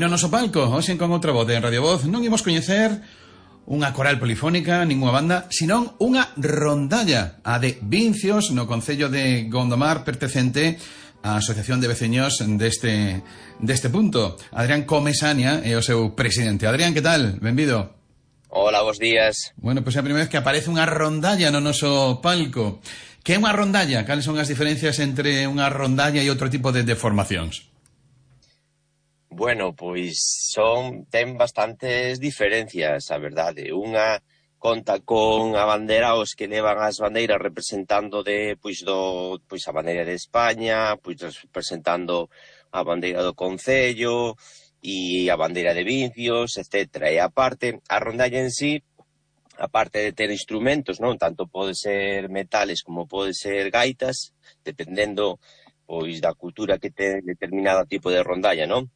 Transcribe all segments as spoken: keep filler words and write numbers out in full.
no noso palco, hoxe con outra voz de Radio Voz, non imos coñecer unha coral polifónica, ninguna banda, senón unha rondalla, a de Vincios, no concello de Gondomar, pertencente á Asociación de Veciños deste, deste punto. Adrián Comesaña é o seu presidente. Adrián, que tal? Benvido. Hola, bons días. Bueno, pois pues é a primeira vez que aparece unha rondalla no noso palco. Que é unha rondalla? Cales son as diferencias entre unha rondalla e outro tipo de, de formacións? Bueno, pois son ten bastantes diferencias, a verdade. Unha conta con a bandera, os que levan as bandeiras representando de pois do pois a bandeira de España, pois representando a bandeira do concello e a bandeira de Vincios, etcétera. E aparte, a rondalla en sí, aparte de ter instrumentos, non, tanto pode ser metales como pode ser gaitas, dependendo pois da cultura que ten determinado tipo de rondalla, non?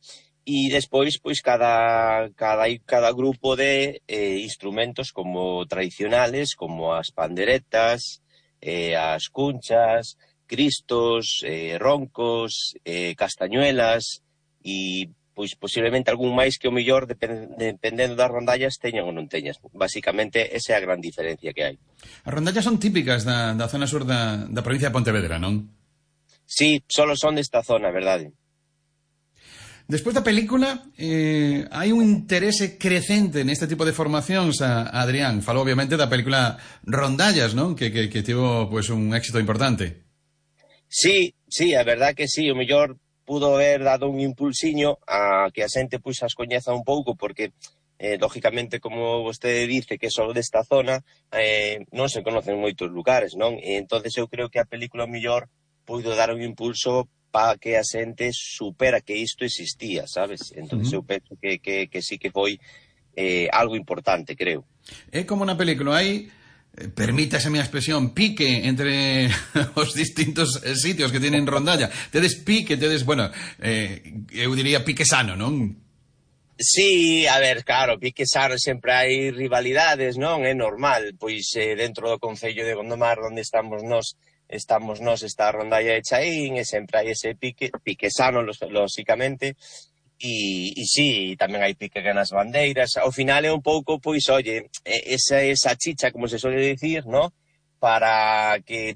E despois, pois, cada, cada, cada grupo de eh, instrumentos como tradicionales, como as panderetas, eh, as cunchas, cristos, eh, roncos, eh, castañuelas e, pois, posiblemente algún máis que o mellor, depend, dependendo das rondallas, teñan ou non teñas. Basicamente, esa é a gran diferencia que hai. As rondallas son típicas da, da zona sur da, da provincia de Pontevedra, non? Sí, solo son desta zona, verdade. Despois da película, eh, hai un interese crecente neste tipo de formacións, a, a Adrián. Falou, obviamente, da película Rondallas, non? Que, que, que tivo pues, un éxito importante. Sí, sí, a verdad que sí. O mellor pudo haber dado un impulsiño a que a xente pois, as coñeza un pouco, porque, eh, lógicamente, como vostede dice, que só desta zona, eh, non se conocen moitos lugares, non? E entonces eu creo que a película o mellor puido dar un impulso para que a xente supera que isto existía, sabes? Entón, uh-huh. eu penso que, que, que sí que foi eh, algo importante, creo. É como na película, hai, eh, permítase a minha expresión, pique entre os distintos sitios que tienen rondalla. Tedes pique, tedes, bueno, eh, eu diría pique sano, non? Sí, a ver, claro, pique sano, sempre hai rivalidades, non? É normal, pois eh, dentro do concello de Gondomar, onde estamos nós, estamos nós, esta rondalla de Chaín, e sempre hai ese pique, pique sano, lógicamente, e, e sí, tamén hai pique nas bandeiras. Ao final é un pouco, pois, oye, esa, esa chicha, como se suele dicir, ¿no? Para que